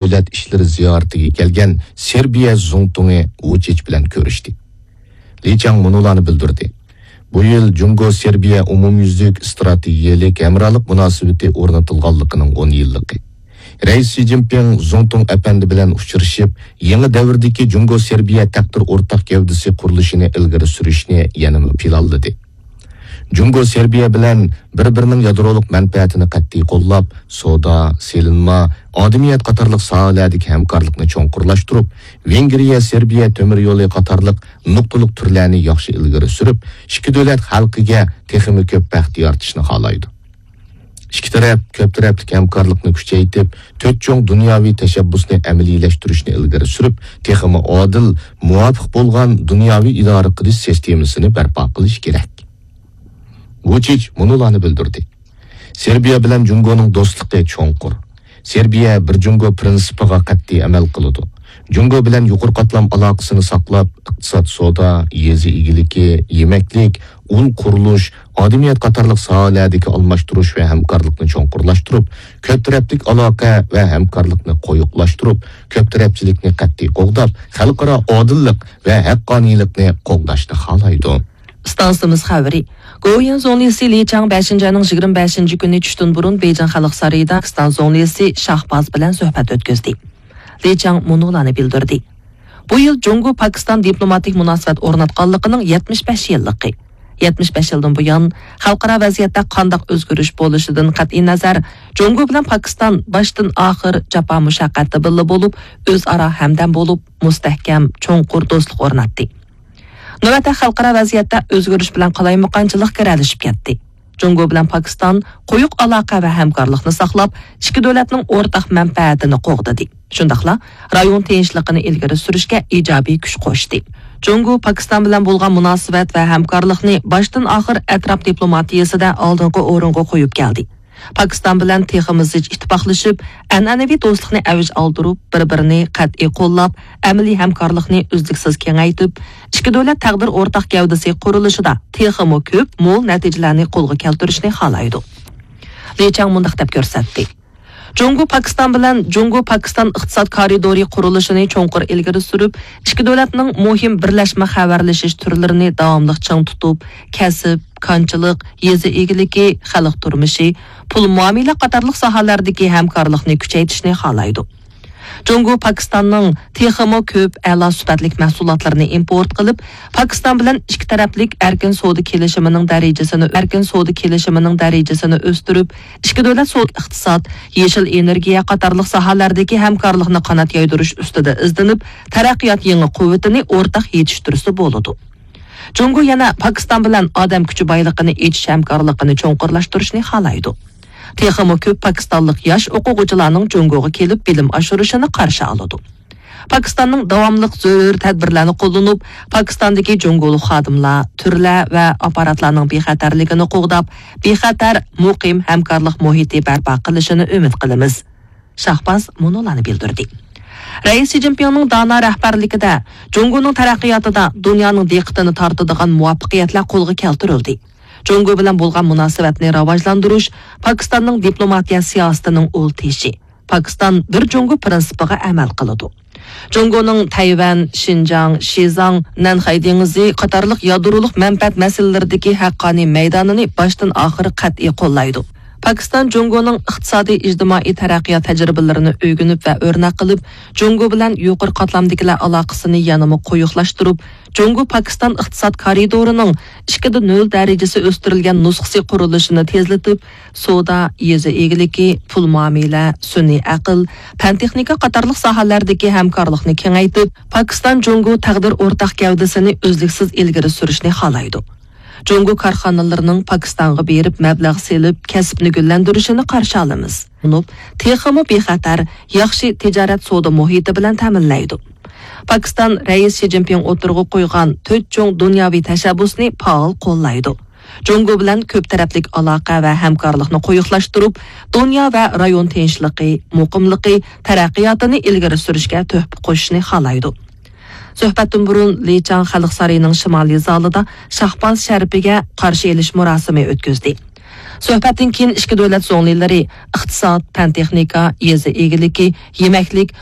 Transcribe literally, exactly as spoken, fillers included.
دۆلەت ئىشلىرى زىيارىتىگە كەلگەن سېربىيە زۇڭتۇڭى ۋۇچىچ بىلەن كۆرۈشتى. لى چاڭ مۇنۇلارنى بىلدۈردى: بۇ يىل جۇڭگو سېربىيە ئومۇميۈزلۈك ئىستراتېگىيەلىك ھەمراھلىق مۇناسىۋىتى ئورنىتىلغانلىقىنىڭ ئون يىللىقى. رەئىس شى جىنپىڭ زۇڭتۇڭ ئەپەندى بىلەن ئۇچرىشىپ، يېڭى دەۋردىكى جۇڭگو سېربىيە تەقدىر ئورتاق گەۋدىسى قۇرۇلۇشىنى ئىلگىرى سۈرۈشنى يەنىمۇ پىلانلىدى. جۇڭگو سېربىيە بىلەن بىر-بىرىنىڭ يادرولۇق مەنپەئەتىنى قەتئىي قوللاپ، سودا، سېلىنما، ئادىمىيەت قاتارلىق ساھەلەردىكى ھەمكارلىقنى چوڭقۇرلاشتۇرۇپ، ۋېنگرىيە، سېربىيە تۆمۈر يولى قاتارلىق نۇقتىلىق تۈرلەرنى ياخشى ئىلگىرى سۈرۈپ، ئىككى دۆلەت خەلقىگە تېخىمۇ كۆپ بەخت يارىتىشنى خالايدۇ. ئىككى تەرەپ كۆپ تەرەپلىك ھەمكارلىقنى كۈچەيتىپ، تۆت چوڭ دۇنياۋى تەشەببۇسنى ئەمەلىيلەشتۈرۈشنى ئىلگىرى سۈرۈپ، تېخىمۇ ئادىل، مۇۋاپىق بولغان دۇنياۋى ئىدارە قىلىش سىستېمىسىنى بەرپا قىلىش كېرەك. ۋۇچىچ مۇنۇلارنى بىلدۈردى: سېربىيە بىلەن جۇڭگونىڭ دوستلۇقى چوڭقۇر. سېربىيە بىر جۇڭگو پىرىنسىپىغا قەتئىي ئەمەل قىلىدۇ. جۇڭگو بىلەن يۇقىرى قاتلام ئالاقىسىنى ساقلاپ، ئىقتىساد، سودا، يېزا ئىگىلىكى، يېمەكلىك، ئۇل قۇرۇلۇش، ئادىمىيەت قاتارلىق ساھەلەردىكى ئالماشتۇرۇش ۋە ھەمكارلىقنى چوڭقۇرلاشتۇرۇپ، كۆپ تەرەپلىك ئالاقە ۋە ھەمكارلىقنى قويۇقلاشتۇرۇپ، كۆپ تەرەپچىلىكنى قەتئىي قوغداپ، خەلقئارا ئادىللىق ۋە ھەققانىيلىقنى قوغداشنى خالايدۇ. ئىستانسىمىز خەۋىرى. گوۋۇيۈەن زۇڭلىسى لى چاڭ بەشىنچى ئاينىڭ يىگىرمە بەشىنچى كۈنى چۈشتىن بۇرۇن بېيجىڭ خەلق سارىيىدا پاكىستان زۇڭلىسى شاھباز بىلەن سۆھبەت ئۆتكۈزدى. لى چاڭ مۇنۇلارنى بىلدۈردى: بۇ يىل جۇڭگو پاكىستان دىپلوماتىك مۇناسىۋەت ئورناتقانلىقىنىڭ يەتمىش بەش يىللىقى. يەتمىش بەش يىلدىن بۇيان، خەلقئارا ۋەزىيەتتە قانداق ئۆزگىرىش بولۇشىدىن قەتئىينەزەر، جۇڭگو بىلەن پاكىستان باشتىن ئاخىر جاپا مۇشەققەتتە بىللە بولۇپ، ئۆزئارا ھەمدەم بولۇپ، مۇستەھكەم، چوڭقۇر دوستلۇق ئورناتتى. نۆۋەتتە خەلقئارا ۋەزىيەتتە ئۆزگىرىش بىلەن قالايمىقانچىلىق گىرەلىشىپ كەتتى. جۇڭگو بىلەن پاكىستان قويۇق ئالاقە ۋە ھەمكارلىقنى ساقلاپ، ئىككى دۆلەتنىڭ ئورتاق مەنپەئەتىنى قوغدىدى. شۇنداقلا رايون تىنچلىقىنى ئىلگىرى سۈرۈشكە ئىجابىي كۈچ قوشتى. جۇڭگو پاكىستان بىلەن بولغان مۇناسىۋەت ۋە ھەمكارلىقنى باشتىن ئاخىر ئەتراپ دىپلوماتىيىسىدە ئالدىنقى ئورۇنغا قويۇپ كەلدى. پاكىستان بىلەن تېخىمۇ زىچ ئىتتىپاقلىشىپ، ئەنئەنىۋى دوستلۇقنى ئەۋج ئالدۇرۇپ، بىر-بىرىنى قەتئىي قوللاپ، ئەمەلىي ھەمكارلىقنى ئۈزلۈكسىز كېڭەيتىپ، ئىككى دۆلەت تەقدىر ئورتاق گەۋدىسى قۇرۇلۇشىدا تېخىمۇ كۆپ، مول نەتىجىلەرنى قولغا كەلتۈرۈشنى خالايدۇ. لى چاڭ مۇنداق دەپ كۆرسەتتى: جۇڭگو پاكىستان بىلەن جۇڭگو پاكىستان ئىقتىساد كارىدورى قۇرۇلۇشىنى چوڭقۇر ئىلگىرى سۈرۈپ، ئىككى دۆلەتنىڭ مۇھىم بىرلەشمە خەۋەرلىشىش تۈرلىرىنى داۋاملىق چىڭ تۇتۇپ، كەسىپ، كانچىلىق، يېزا ئىگىلىكى، خەلق تۇرمۇشى، پۇل مۇئامىلە قاتارلىق ساھەلەردىكى ھەمكارلىقنى كۈچەيتىشنى خالايدۇ. جۇڭگو پاكىستاننىڭ تېخىمۇ كۆپ ئەلا سۈپەتلىك مەھسۇلاتلىرىنى ئىمپورت قىلىپ، پاكىستان بىلەن ئىككى تەرەپلىك ئەركىن سودا كېلىشىمىنىڭ دەرىجىسىنى، ئەركىن سودا كېلىشىمىنىڭ دەرىجىسىنى ئۆستۈرۈپ، ئىككى دۆلەت سودا، ئىقتىساد، يېشىل ئېنېرگىيە قاتارلىق ساھەلەردىكى ھەمكارلىقنى قانات يايدۇرۇش ئۈستىدە ئىزدىنىپ، تەرەققىيات يېڭى قۇۋۋىتىنى ئورتاق يېتىشتۈرسە بولىدۇ. جۇڭگو يەنە پاكىستان بىلەن ئادەم كۈچى بايلىقىنى ئېچىش ھەمكارلىقىنى چوڭقۇرلاشتۇرۇشنى خالايدۇ. تېخىمۇ كۆپ پاكىستانلىق ياش ئوقۇغۇچىلارنىڭ جۇڭگوغا كېلىپ بىلىم ئاشۇرۇشىنى قارشى ئالىدۇ. پاكىستاننىڭ داۋاملىق زۆرۈر تەدبىرلەرنى قوللىنىپ، پاكىستاندىكى جۇڭگولۇق خادىملار، تۈرلەر ۋە ئاپپاراتلارنىڭ بىخەتەرلىكىنى قوغداپ، بىخەتەر، مۇقىم ھەمكارلىق مۇھىتى بەرپا قىلىشىنى ئۈمىد قىلىمىز. شاھباز مۇنۇلارنى بىلدۈردى. رەئىس شى جىنپىڭنىڭ دانا رەھبەرلىكىدە جۇڭگونىڭ تەرەققىياتىدا دۇنيانىڭ دىققىتىنى تارتىدىغان مۇۋەپپەقىيەتلەر قولغا كەلتۈرۈلدى. جۇڭگو بىلەن بولغان مۇناسىۋەتنى راۋاجلاندۇرۇش پاكىستاننىڭ دىپلوماتىيە سىياسىتىنىڭ ئۇل تېشى. پاكىستان بىر جۇڭگو پىرىنسىپىغا ئەمەل قىلىدۇ. جۇڭگونىڭ تەيۋەن، شىنجاڭ، شىزاڭ، نەنخەي دېڭىزى قاتارلىق يادرولۇق مەنپەئەت مەسىلىلىرىدىكى ھەققانىي مەيدانىنى باشتىن ئاخىر قەتئىي قوللايدۇ. پاكىستان جۇڭگونىڭ ئىقتىسادىي، ئىجتىمائىي تەرەققىيات تەجرىبىلىرىنى ئۆگىنىپ ۋە ئۆرنەك قىلىپ، جۇڭگو بىلەن يۇقىرى قاتلامدىكىلەر ئالاقىسىنى يەنىمۇ قويۇقلاشتۇرۇپ، جۇڭگو پاكىستان ئىقتىساد كارىدورىنىڭ ئىككىدە نۆل دەرىجىسى ئۆستۈرۈلگەن نۇسخىسى قۇرۇلۇشىنى تېزلىتىپ، سودا، يېزا ئىگىلىكى، پۇل مۇئامىلە، سۈنئىي ئەقىل، پەن تېخنىكا قاتارلىق ساھەلەردىكى ھەمكارلىقنى كېڭەيتىپ، پاكىستان جۇڭگو تەقدىر ئورتاق گەۋدىسىنى ئۈزلۈكسىز ئىلگىرى سۈرۈشنى خالايدۇ. جۇڭگو كارخانىلىرىنىڭ پاكىستانغا بېرىپ مەبلەغ سېلىپ، كەسىپنى گۈللەندۈرۈشىنى قارشى ئالىمىز. ئۇنۇپ، تېخىمۇ بىخەتەر، ياخشى تىجارەت سودا مۇھىتى بىلەن تەمىنلەيدۇ. پاكىستان رەئىس شى جىنپىڭ ئوتتۇرىغا قويغان تۆت چوڭ دۇنياۋى تەشەببۇسنى پائال قوللايدۇ. جۇڭگو بىلەن كۆپ تەرەپلىك ئالاقە ۋە ھەمكارلىقنى قويۇقلاشتۇرۇپ، دۇنيا ۋە رايون تىنچلىقى، مۇقىملىقى، تەرەققىياتىنى ئىلگىرى سۈرۈشكە تۆھپە قوشۇشنى خالايدۇ. سۆھبەتتىن بۇرۇن لى چاڭ خەلق سارىيىنىڭ شىمالىي زالىدا شاھباز شەرىپىگە قارشى ئېلىش مۇراسىمى ئۆتكۈزدى. سۆھبەتتىن كېيىن ئىككى دۆلەت زۇڭلىلىرى ئىقتىساد، پەن-تېخنىكا، يېزا ئىگىلىكى، يېمەكلىك،